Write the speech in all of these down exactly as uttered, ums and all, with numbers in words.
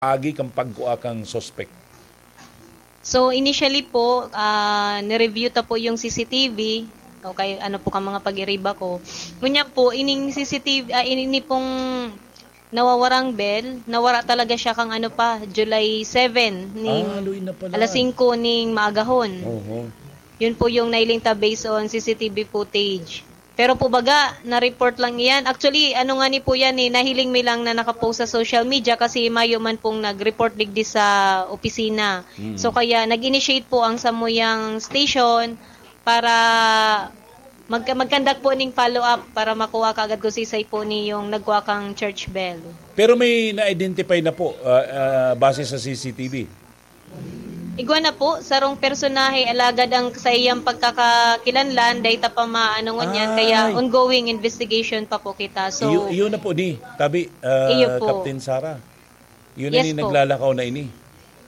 agi kan pagkua kan suspek? So, initially po, ah, ni-review ta po yung C C T V, o kay ano po kan mga pag-iriba ko. Ngunyan po, ining C C T V, ah, ini pong nawawarang bell, nawara talaga siya kan ano pa, July seven, ning Ah, luy na pala. alas singko ning maagahon. Oho. Yun po yung nailing ta based on C C T V footage. Pero po baga, na-report lang iyan. Actually, ano nga ni po yan eh, nahiling mi lang na nakapost sa social media kasi mayo man pong nag-report digdi sa opisina. Mm. So kaya nag-initiate po ang samuyang station para magka-, mag-conduct po ning follow-up para makuha kaagad kung sisay po ni yung nagkuha kang church bell. Pero may na-identify na po, ah, ah, base sa C C T V? Igwa na po, sarong personahe, alagad ang sa iyang pagkakakilanlan, dai ta pa maano ngunyan, kaya Ay. ongoing investigation pa po kita. So, Iyo, iyo na po ni, tabi, ah, Iyo po. Captain Sara. Yun na Yes ni po. naglalakaw na ini.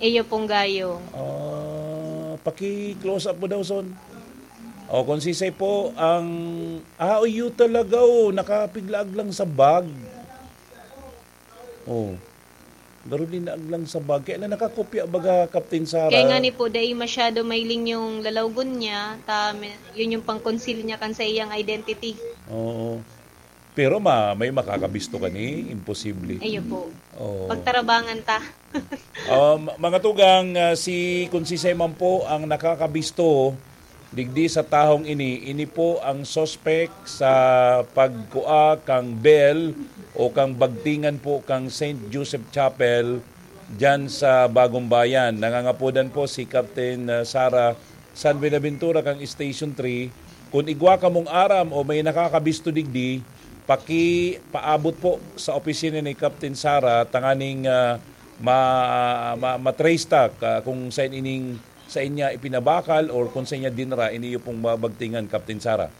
Iyo pong gayo. Ah, paki-close up mo daw, Son. O, kung sisay po ang, ah, iyo talaga, oh, nakapiglaag lang sa bag. Oh. Garo din naag lang sa bag. Kaya na nakakopya baga, Captain Sara. Kaya nga ni po, dai masyado mailing yung lalawgon niya, ta, yun yung pang-conceal niya kan sa iyang identity. Oo. Pero ma-, may makakabisto ka ni? Imposible. Ayun po. Oo. Pagtarabangan ta. Um, mga tugang, ah, si, kung sisay man po ang nakakabisto, digdi sa tahong ini, ini po ang suspek sa pagkua kang bell o kang bagtingan po kang Saint Joseph Chapel diyan sa Bagong Bayan. Nangangapodan po si Captain, ah, Sara San Buenaventura kang Station three. Kung igwa kamong aram o may nakakabisto digdi, pakipaabot po sa opisina ni Captain Sara tanganing, ah, ma-, ma-, ma-trace ta ka-, kung saan ining sa inya ipinabakal or kung sa inya dinara, ini iyo pong mabagtingan, Captain Sara.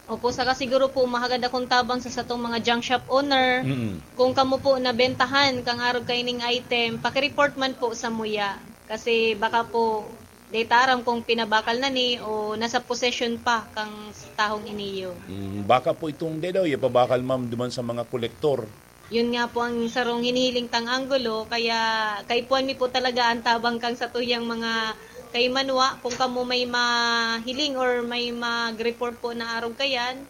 Opo, saka siguro po mahagad akong tabang sa satong mga junk shop owner. Mm. Kung kamo po nabentahan kang arog kaining item, paki-report man po sa muya. Kasi baka po, di ta aram kung pinabakal na ni o nasa possession pa kang tahong iniyo. Mm, baka po itong, di daw, ipabakal, ma'am, duman sa mga kolektor. Yun nga po ang sarong hinihiling tang anggulo, kaya kaipuhan mi po talaga ang tabang kang satuyang mga kaimanwa. Kung kamo may mahiling or may mag-report po na arog kayan,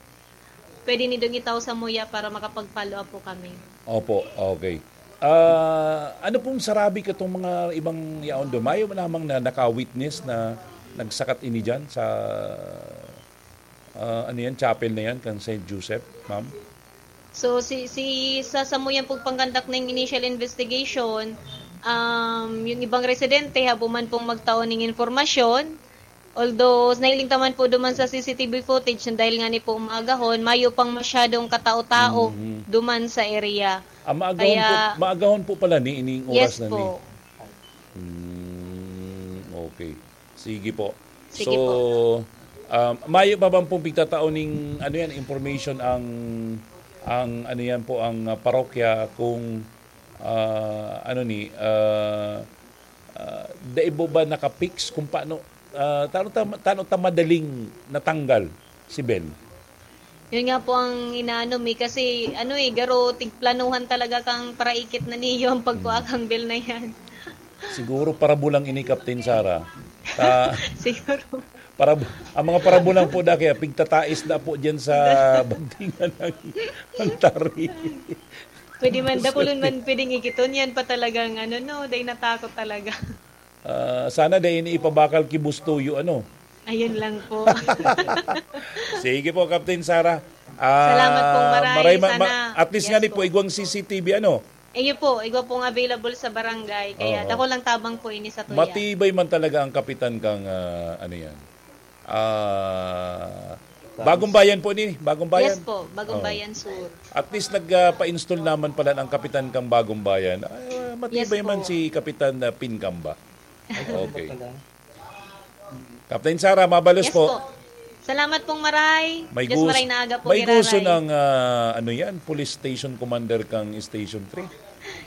pwede nindong itao sa muya para makapag-follow up po kami. Opo, okay. Ah, ano pong sarabi katong mga ibang yaon doon? Mayo man lamang na naka-witness na nagsakat ini diyan sa, ah, ano yan, chapel na yan, kan Saint Joseph, ma'am? So, si, si, sa samuyan pong pangkandak na yung initial investigation, um, yung ibang residente, habo man pong magtao ning informasyon, although, nailing ta man po duman sa C C T V footage na dahil nga ni po umaagahon, mayo pang masyadong katao-tao Mhm. duman sa area. Ah, maagahon Kaya po, maagahon po pala ni ining oras Yes na ni. po. Hmm, okay. Sige po. Sige So, po. um, mayo pa bang pong pigtatao ning, ano yan, information ang, ang, ano yan po, ang, ah, parokya kung, ah, ano ni, ah, ah, dai po ba naka-fix kung paano, ah, tano ta, tano ta madaling natanggal si Bel? Yun nga po ang inaano mi, kasi ano eh, garo tigplanuhan talaga kang paraikit na niyo ang pagkuha Hmm. kang bill na yan. Siguro parabulang ini, Captain Sara. Ta-, Siguro. Parab-, ang mga parabulang po da kaya pigtatais na po dyan sa bagtingan ng, ng tari. Pwede man, dakulon man pwedeng ikiton yan pa talagang ano, no, dahil natakot talaga. Ah, sana dai ini ipabakal ki Boss Toyo, ano? Ayun lang po. Sige po, Captain Sara. Ah, Salamat pong maray. maray ma-, ma-, Sana. At least Yes nga ni po, po. igwang C C T V, ano? Iyo po, igwa pong available sa barangay. Kaya Oo. dako lang tabang po ini sa tuya. Matibay man talaga ang kapitan kang, ah, ano yan. Ah, Bagong Bayan po ni, Bagong Bayan. Yes po, Bagong Oo. Bayan Sur. At least nag, ah, pa-install naman pala ang kapitan kang Bagong Bayan. Ah, matibay Yes man po. si Kapitan, ah, Pincamba. Okay. Captain Sara, mabalos Yes po. po. Salamat pong maray. May Diyos gus-, maray na aga po, may gusto Giraray. ng, ah, ano yan, police station commander kang Station three.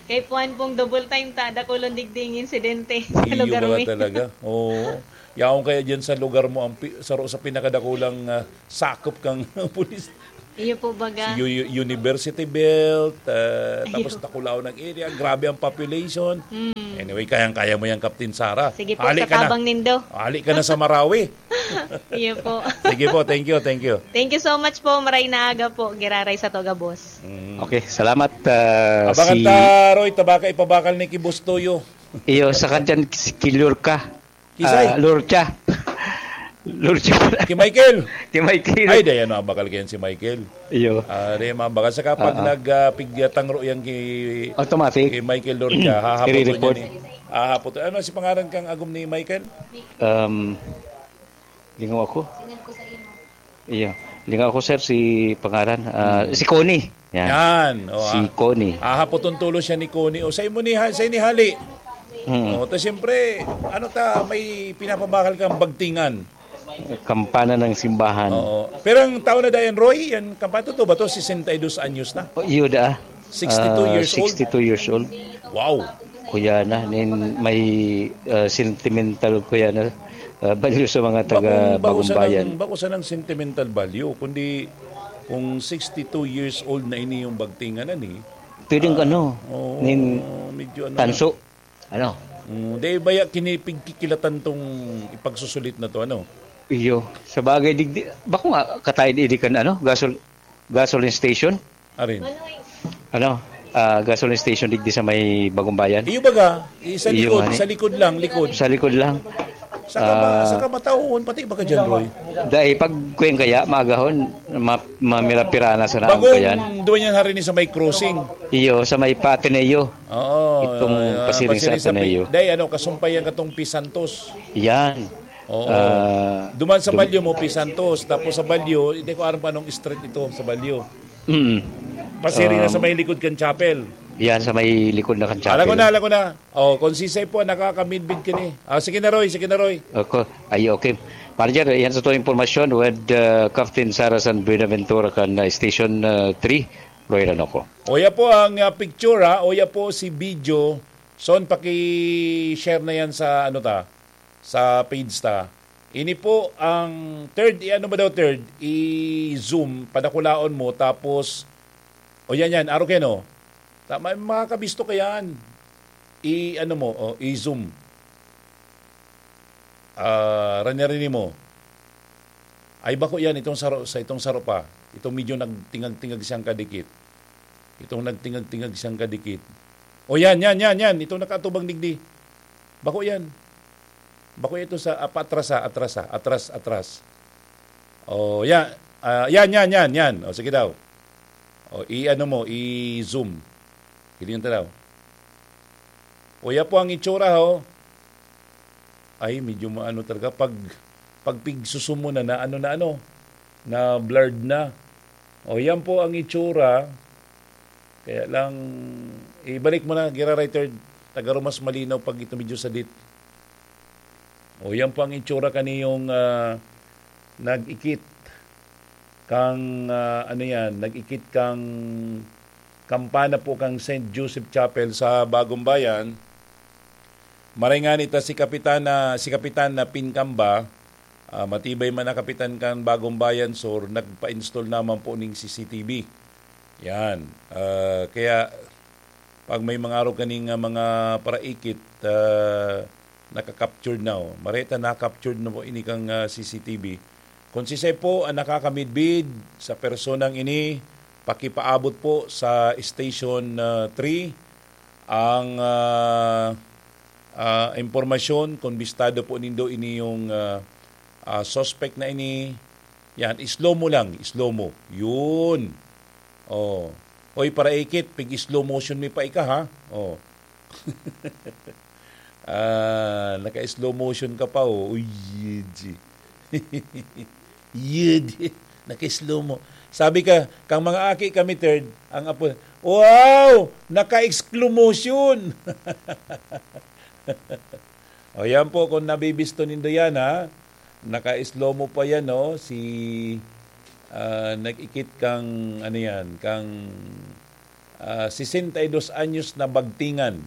Kay Puan pong double time ta, dakulon digding insidente sa Iyo lugar mga mi. talaga. Oo. Yaon kaya dyan sa lugar mo, ang pi-, saro sa pinakadakulang, ah, sakop kang pulis. Iyo po baga. U- University Belt, ah, tapos Iyo. Tacolao ng area. Grabe ang population. Mm. Anyway, kayang-kaya mo yan, Captain Sara. Sige po, Hali sa ka na. Tabang nindo. Hali ka na sa Marawi. Iyo po. Sige po, thank you, thank you. Thank you so much po. Maray na aga po. Giraray sa Toga, boss. Mm. Okay, salamat, ah, Abangan si ta, Roy, tabaka ipabakal ni Kibos Toyo. Iyo, sa kadyan, si Kilurka. Kisay? Ah, Lurcha. Lurcha. Ki Michael? Ki Michael. Ay, dayan, mabakal kayan si Michael. Iyo. Ah, dayan, mabakal. Saka pag Ah, ah. nag, ah, pigtangro yan ki, Automatic. ki Michael Lurcha, hahapoton Iri-report. niya ni, hahapoton. Ano si pangaran kang agom ni Michael? Um, lingaw ako. Iyo. Lingaw ako, sir, si pangaran. Ah, Hmm. si Connie. Yan. Yan. O, Si ah. Connie. Hahapoton tulo siya ni Connie. O, sa imo ni ha-, sa ini hali. Hmm. O, to siyempre, ano ta, may pinapabakal kang bagtingan. Kampana ng simbahan. Oo. Pero ang tao na dayan, Roy, yan, kampana, totoo ba to? Sesenta y dos anyos na. O, iyo da. Sixty-two Ah, years old? sixty-two years old. Wow. Kuya na, nin may, ah, sentimental kuya na, ah, value sa mga taga Bagong, bako Bagong sana Bayan. ng, bako sana ng sentimental value, kundi kung sixty-two years old na ini yung bagtingan na ni, Pwedeng ah, ano, oo, nin medyo ano na. tanso. Ano? Mm, di baya kinipigkikilatan tong ipagsusulit na to, ano? Iyo. Sa bagay, digdi, bako nga, katay di, di kan, ano, gasol-, gasoline station? Arin. Ano? Ah, gasoline station digdi sa may Bagong Bayan? Iyo baga, i-, sa Iyo likod, nga ni. sa likod lang, likod. Sa likod lang. Saka ma-, Ah. saka mataon, pati baga dyan, Roy. Dahil pag kuwing kaya, magahon, ma-, mamira-pira na sa naan Bagong ko yan. duwa niyan hari ni sa may crossing. Iyo, sa may pa Ateneo. Oo, Itong ah, pasiring sa pasiring sa Ateneo. Pi-, day, ano, kasumpay yan katong Pisantos. Yan. Oo. Ah, Duman sa dum- Balyo mo, Pisantos. Tapos sa Balyo, hindi ko alam pa anong street ito sa Balyo. Mm. Pasiring na sa Um, may likod kan chapel. Yan, sa may likod na kan Alam ko chapel. na, alam ko na. Oh, kung sisay po, nakakamidbid ka ni. Ah, sige na, Roy, sige na, Roy. Ako, ay, okay. Manager, yan sa itong impormasyon with, uh, Captain Sara San Buenaventura kan, uh, Station, uh, three, Roy Ranoco. O, yan po ang, uh, picture, ha. O, yan po si video. Son, paki-share na yan sa, ano ta, sa page ta. Ini po ang third, i-ano ba daw third? I-zoom, padakulaon mo, tapos, o yan, yan, aro kayo, no? Tama, makakabisto ka yan. I-ano mo, o, i-zoom. Ah, rani-rani mo. Ay, bako yan, itong saro, sa itong saro pa. Itong medyo nagtingag-tingag siyang kadikit. Itong nagtingag-tingag siyang kadikit. O, yan, yan, yan, yan. Itong nakaatubang digdi. Bako yan. Bako ito sa, ah, paatras, ah, atras, ah, atras, atras. O, yan. Ah, yan, yan, yan, yan. O, sige daw. O, i-ano mo, i-zoom. Hilingan ta daw. O, yan po ang itsura, ho. Ay, medyo maano talaga. Pag, pag pigsusumo na, na ano na ano, na blurred na. O, yan po ang itsura. Kaya lang, ibalik mo na, Gira Writer, taga mas malinaw pag ito medyo sadit. O, yan po ang itsura kaniyong, ah, nag-ikit kang, ah, ano yan, nag-ikit kang kampana po kang Saint Joseph Chapel sa Bagong Bayan. Maray nga nita si Kapitan na, si Kapitan na Pinkamba, ah, matibay man na Kapitan kan Bagong Bayan Sur, nagpa-install naman po ning C C T V. Yan. Ah, kaya pag may mga araw kaning, ah, mga paraikit, ah, naka-captured na, oh. Mareta na-captured na po ini kang, ah, C C T V. Kung sisay po ang nakakamidbid sa personang ini, pakipaabot po sa Station, ah, three ang, ah, ah, impormasyon. Kung bistado po nindo ini yung, ah, ah, suspect na ini, yan, slow mo lang, slow mo. Yun. Oh. Oy, paraikit, pig slow motion mi pa ika, ha? Oh. Ah, naka-slow motion ka pa, oh. Uy, yun, G. Yun, naka-slow mo. Sabi ka, kang mga aki kami, third, ang apo, "Wow! Naka-exclumotion!" O, yan po, kung nabibisto nindo yan, ha? Naka-slow mo pa yan, no? Si, ah, nag-ikit kang, ano yan, kang, ah, sesenta y dos anyos na bagtingan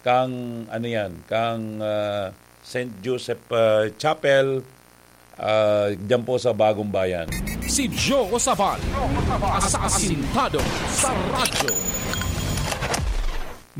kang, ano yan, kang, ah, Saint Joseph, ah, Chapel, ah, dyan po sa Bagong Bayan. Si Joe Sabal, asasintado sa radyo.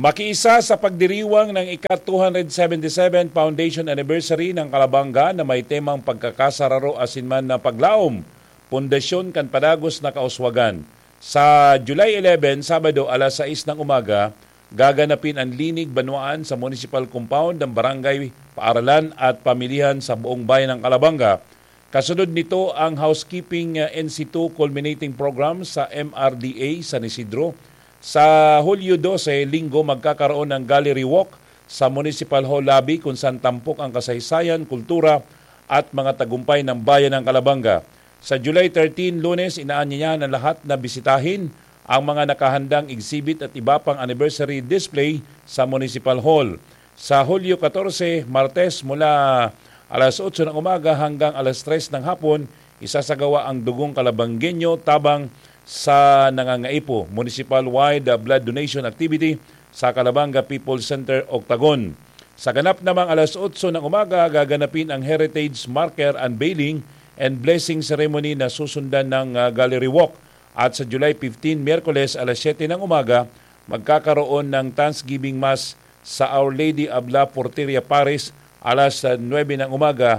Makiisa sa pagdiriwang ng ika two hundred seventy-seven Foundation Anniversary ng Kalabanga na may temang pagkakasararo asin man na paglaom, pundasyon kan padagos na kauswagan. Sa July eleven, Sabado, alas sais ng umaga, gaganapin ang linig banwaan sa municipal compound ng barangay, paaralan at pamilihan sa buong bayan ng Kalabanga. Kasunod nito ang housekeeping, uh, N C two culminating program sa M R D A San Isidro. Sa Hulyo dose, Linggo, magkakaroon ng gallery walk sa Municipal Hall Lobby kung saan tampok ang kasaysayan, kultura at mga tagumpay ng bayan ng Kalabanga. Sa July thirteen, Lunes, inaanyayahan ang lahat na bisitahin ang mga nakahandang exhibit at iba pang anniversary display sa Municipal Hall. Sa Hulyo katorse, Martes, mula alas otso ng umaga hanggang alas tres ng hapon, isasagawa ang Dugong Kalabanggenyo tabang sa Nangangaipo, municipal-wide blood donation activity sa Kalabanga People's Center, Octagon. Sa ganap namang alas otso ng umaga, gaganapin ang Heritage Marker Unveiling and Blessing Ceremony na susundan ng, ah, Gallery Walk. At sa July fifteen, Miyerkules, alas siyete ng umaga, magkakaroon ng Thanksgiving Mass sa Our Lady of La Porteria Parish, alas, ah, nuebe ng umaga,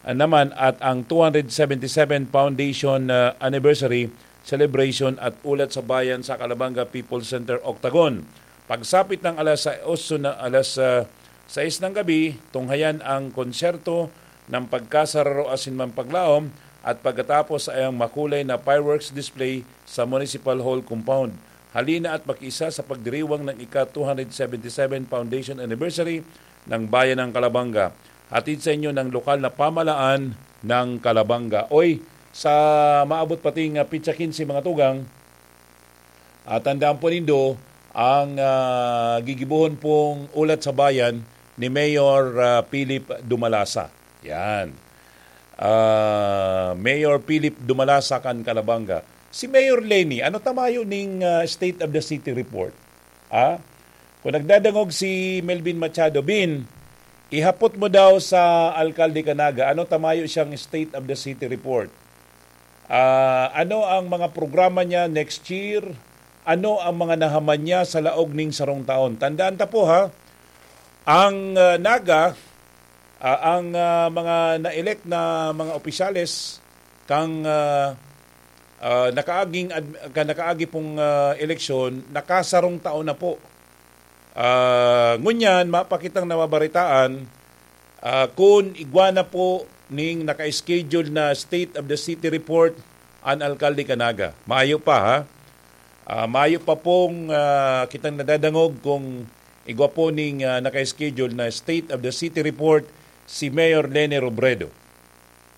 ah, naman, at ang two hundred seventy-seven Foundation, ah, Anniversary Celebration at Ulat sa Bayan sa Kalabanga People's Center, Octagon. Pagsapit ng alas sais na, alas, ah, sais ng gabi, tunghayan ang konsyerto ng pagkasararo asin man paglaom at pagkatapos ay ang makulay na fireworks display sa Municipal Hall Compound. Halina at makiisa sa pagdiriwang ng ika two hundred seventy-seven Foundation Anniversary ng Bayan ng Kalabanga. Hatid sa inyo ng lokal na pamalaan ng Kalabanga. Oy, sa maabot pating, ah, pitsa quince, mga tugang, ah, tandaan po nindo ang, ah, gigibohon pong Ulat sa Bayan ni Mayor, ah, Philip Dumalasa. Yan. Ah, Mayor Philip Dumalasa kan Kalabanga. Si Mayor Leni, ano ta mayo ning, ah, State of the City Report? Ah? Kung nagdadangog si Melvin Machado, "Bin, ihapot mo daw sa Alkalde kan Naga, ano ta mayo siyang State of the City Report? Ah, ano ang mga programa niya next year? Ano ang mga nahaman niya sa laog ning sarong taon?" Tandaan ta po, ha, ang, ah, Naga, ah, ang, ah, mga na-elect na mga opisyales kang, ah, ah, nakaaging ad-, kan nakaagi pong, ah, eleksyon, nakasarong taon na po. Ah, ngunyan, mapakitang nababaritaan, ah, kun igwa na po ning naka-schedule na State of the City Report an Alkalde kan Naga. Maayo pa, ha? Ah, maayo pa pong, ah, kitang nadadangog kung igwa po ning, ah, naka-schedule na State of the City Report si Mayor Leni Robredo.